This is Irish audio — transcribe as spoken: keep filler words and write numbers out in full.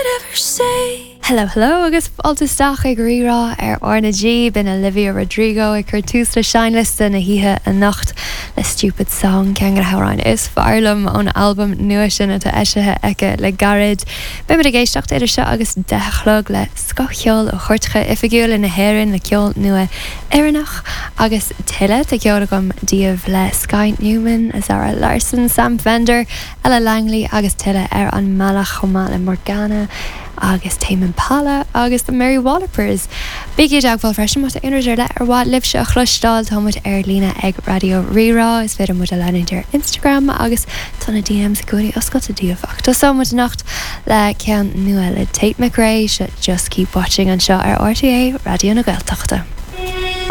could ever say. Hello, hello agus fáilte isteach ag Rí-Rá ar RnaG b'in Olivia Rodrigo ag cur tús le seinnliosta na hoíche anocht le Stupid Song ceann de na hamhráin is fearr liom ón albam nua sin atá eisithe aici le gairid. Beimid ag éisteacht idir seo agus deich a chlog le scothcheol ó chairteacha oifigiúla na hÉireann le ceol nua Éireannach agus tuilleadh tá ceol agam daoibh le Sky Newman, Zara Larsson, Sam Fender, Ella Langley agus tuilleadh ar an mbealach chomh maith le Morgana agus Tame Impala agus the Mary Wallopers. Bígí i dteagmháil freisin má tá aon rud ar leith ar mhaith libhse a chloisteáil táimid ar líne ag Raidió Rí-Rá is féidir muid a leanúint ar Instagram agus tá na DMs i gcónaí oscailte daoibh ach tosóimid anocht le ceann nua le Tate McRae se Just Keep Watching anseo ar RTÉ Raidió na Gaeltachta.